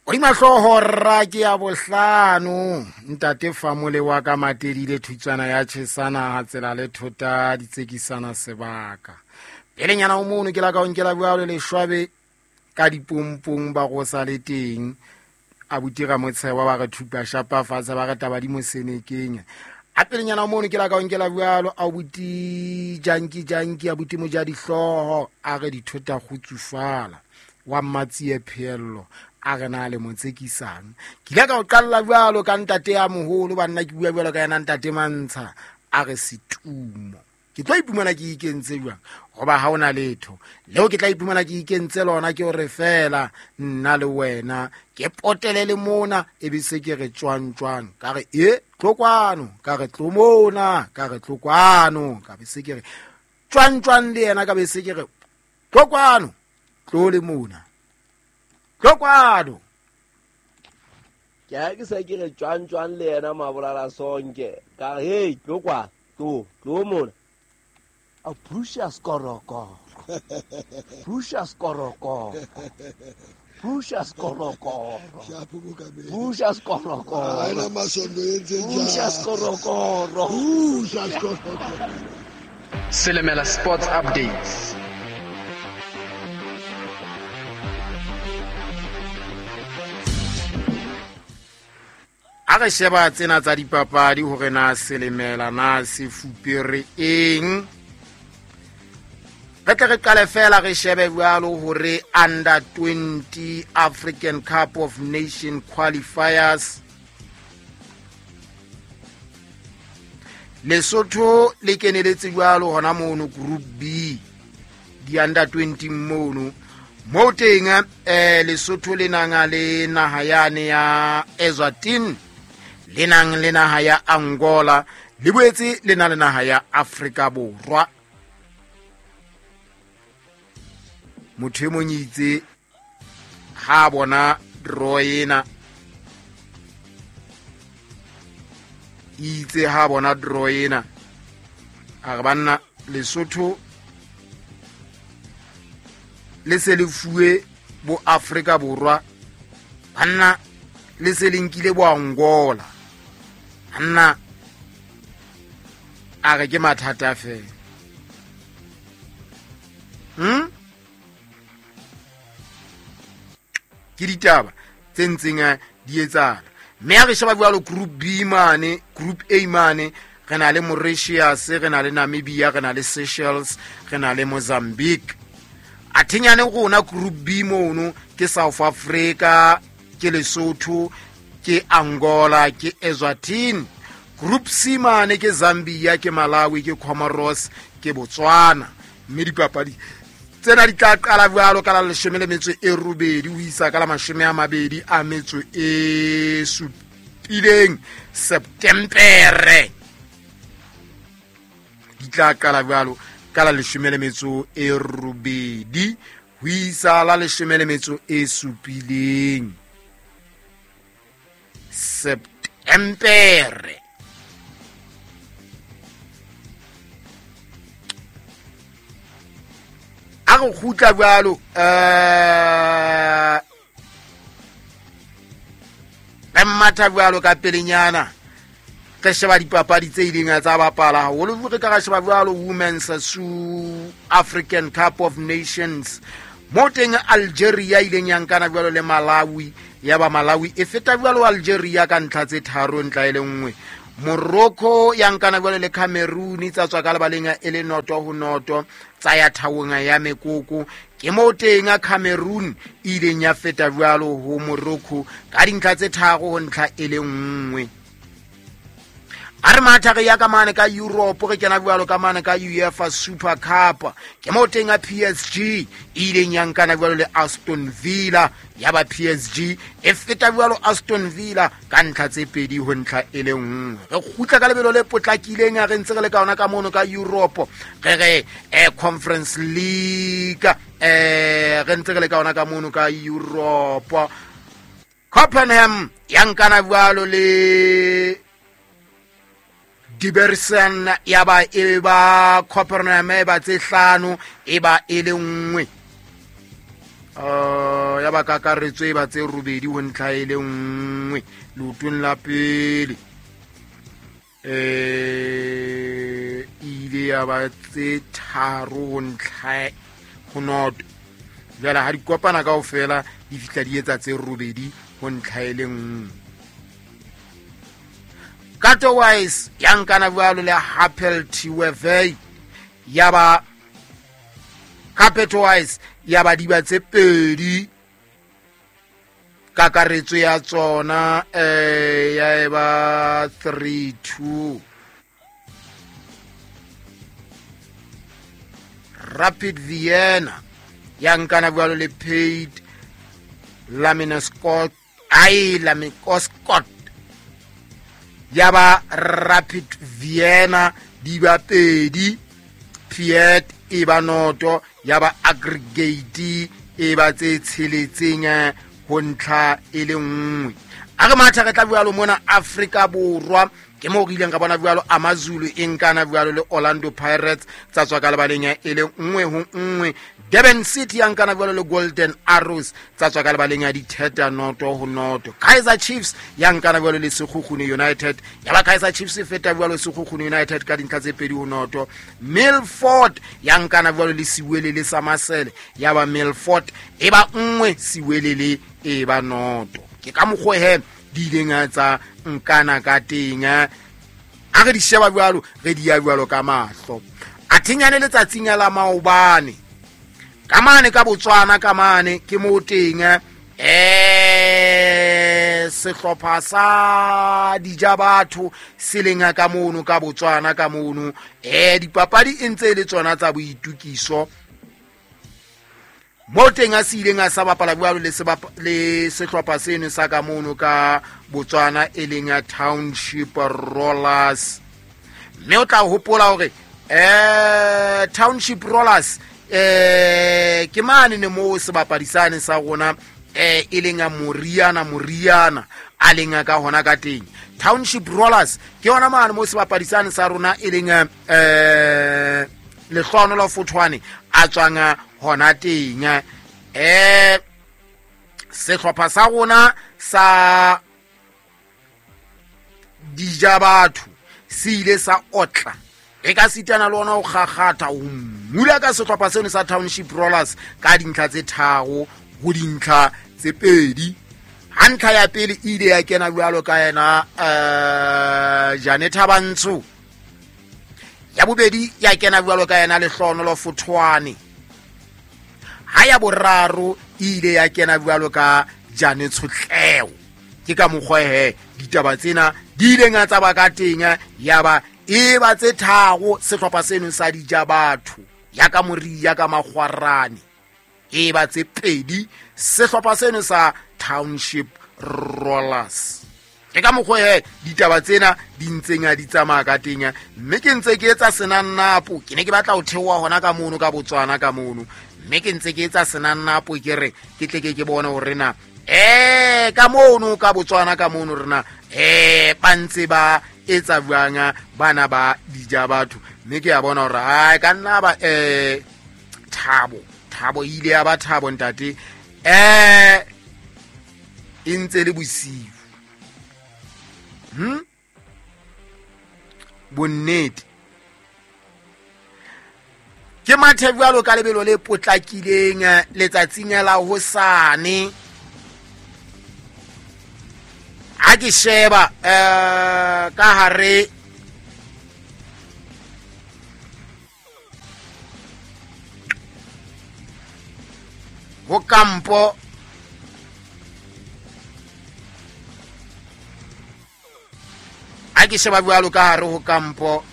Hodima hlooho rra ke ya bohlano ntate famole wa ka matedile thutswana ya tjhesana ha tsela le thota ditsekisana sebaka pelenyana o mono ke la ka o nkela bjalo leshwabe ka dipompong ba go sa le teng abuti Ramotshewa ba re thupa shapa fatshe ba re taba di mo senekeng a pelenyana mono ke la ka o nkela bjalo abuti janki janki abuti moja dihlooho a re dithota kgutsufala wa mmatsie pheello a re na le mo tsekisang ke ile ka o qalla bjalo ka ntate ya moholo banna ke bua bjalo ka yena ntate mantsha a re setumo ke tlo ipumana ke ikentse jwang goba ga o na letho leo ke tla ipumana ke ikentse lona ke gore fela nna le wena ke potele le mona e be se ke re tswang tswang ka re e tlo kwano ka re tlo mona ka re tlo kwano ka be se ke re tswang tswang le yena ka be se ke re tlo kwano tlo le mona tlo kwano Ke a ke sa ke re tswang tswang le yena mabolala sonke ka re hei tlo kwa tlo tlo mona a phusha skorokoro phusha skorokoro phusha skorokoro Shapo mokamedi. phusha skorokoro Ha ena masondo e entseng phusha jwang. skorokoro Phusha skorokoro. Silimela Sports Updates. A re sheba tsena tsa dipapadi hore na selemela na se fupere eng re tle re qale fela re shebe jwalo hore under 20 African Cup of Nation qualifiers Lesotho le keneletse jwalo hona mono group B di under 20 mono mo teng Lesotho le nang le naha yane ya Eswatini le nang le naha ya Angola le boetse le na le naha ya Afrika Borwa motho e mong itse ha bona draw ena itse ha bona draw ena a re banna Lesotho le se le fuwe bo Afrika Borwa banna le se le nkile bo Angola banna a re ke mathata fela Ke ditaba tse ntseng di etsahala mme ha re sheba jwalo group B mane group A mane re na le Mauritius re na le Namibia re na le Seychelles re na le Mozambique a thenyane rona group B mono ke South Africa ke Lesotho ke Angola ke Eswatini group C mane ke Zambia ke Malawi ke Comoros ke Botswana mme dipapadi tsena di tla qala jwalo ka la 18 ho isa ka la 27 Septembere di tla qala jwalo ka la 18 ho isa la 17 Septembere a re kgutla jwalo re mmatha jwalo ka pelenyana re sheba dipapadi tse ileng tsa bapala haholo re ka ra sheba jwalo Women's African Cup of Nations mo teng Algeria ileng ya nkana jwalo le Malawi ya ba Malawi e feta jwalo Algeria ka ntlha tse 3 ntlha e le nngwe Morocco ya nkana jwalo le Cameroon tsa tswa ka lebaleng e le 0-0 tsa ya thaong ya mekoko ke mo teng Cameroon e ileng ya feta jwalo ho Morocco ka dintlha tse 3 ho ntlha e le nngwe a re matha re ya ka mane ka Europe re kena jwalo ka mane ka UEFA Super Cup ke mo teng a PSG e ileng ya nkana jwalo le Aston Villa ya ba PSG e feta jwalo Aston Villa ka ntlha tse 2 ho ntlha e le nngwe re kgutla ka lebelo le potlakileng a re ntse re le ka ona ka mono ka Europe re re Conference League re ntse re le ka ona ka mono ka Europe Copenhagen ya nkana jwalo le Debrecen ya ba e ba Copenhagen e ba tse 5 e ba e le nngwe Ya ba kakaretso e ba tse 8 ho ntlha e le 1 leotong la pele. Ile ya ba tse 3 ho ntlha ho 0. Jwale ha di kopana kaofela di fihla di etsa tse 8 ho ntlha e le 1. Kato Wise ya nkana jwalo le Happel Twevey, ya ba Carpet Wise ya ba diba tse 2, kakaretso ya tsona ya eba 3-2. Rapid Vienna ya nkana jwalo le Paid Laminoscott, ai Lamikoscott, ya ba Rapid Vienna di ba 2, Piet e ba 0, ya ba aggregate e ba tse 6 ho ntlha e le 1. A re matha re tla jwalo mona Afrika Borwa, ke moo re ileng ka bona jwalo AmaZulu e nkana jwalo le Orlando Pirates tsa tswa ka lebaleng ya e le 1-1. Durban City ya nkana jwalo le Golden Arrows tsa tswa ka lebaleng ya ditheta 0-0. Kaizer Chiefs ya nkana jwalo le Sekhukhune United, ya ba Kaizer Chiefs e feta jwalo Sekhukhune United ka dintlha tse 2-0. Milford ya nkana jwalo le Siwelele sa Masele, ya ba Milford e ba 1, Siwelele e ba 0. Ke ka mokgwa he di ileng tsa nkana ka teng. A re di sheba jwalo, re di ya jwalo ka mahlo. A thinyane letsatsing la maobane ka mane ka Botswana, ka mane ke mo teng sehlopha sa Dijabatho se leng ka mono ka Botswana ka mono. Dipapadi e ntse le tsona tsa boitukiso mo teng a se ileng a sa bapala jwalo le sehlopha seno sa ka mono ka Botswana e leng ya Township Rollers. Mme o tla hopola hore Township Rollers ke mane ne mo sebapadi sane sa rona e leng ya Moriana a leng ka hona ka teng. Township Rollers ke yona mane mo sebapadi sane sa rona e leng Lehlohonolo Fothwane a tswang hona teng. Sehlopha sa rona sa Dijabatho se ile sa otla e ka sitana le ona ho kgakgatha ho mula ka sehlopha seno sa Township Rollers ka dintlha tse 3 ho dintlha tse 2. Ha ntlha ya pele e ile ya kena jwalo ka yena Janet Thabantsho, ya bobedi ya kena jwalo ka yena Lehlohonolo Fothwane, ha ya boraro e ile ya kena jwalo ka Jane Tshotleo. Ke ka mokgwa he ditaba tsena di ileng tsa ba ka teng, ya ba e ba tse 3 sehlopha seno sa Dijabatho ya ka Moria ka Makgwarane, e ba tse 2 sehlopha seno sa Township Rollers. Ke ka mokgwa he ditaba tsena di ntseng di tsamaya ka teng, mme ke ntse ke etsa senannapo. Ke ne ke batla ho theoha hona ka mono ka Botswana ka mono, mme ke ntse ke etsa senannapo ke re ke tle ke bone hore na ka mono ka Botswana ka mono rena ba ntse ba etsa jwang bana ba Dijabatho. Mme ke a bona hore ai ka nna ba Thabo ile ya ba Thabo ntate e ntse le bosiu. Bonnete ke mathe jwalo ka lebelo le potlakileng letsatsing la hosane. Ha ke sheba ka hare ho kampo ha ke sheba jwalo ka hare ho kampo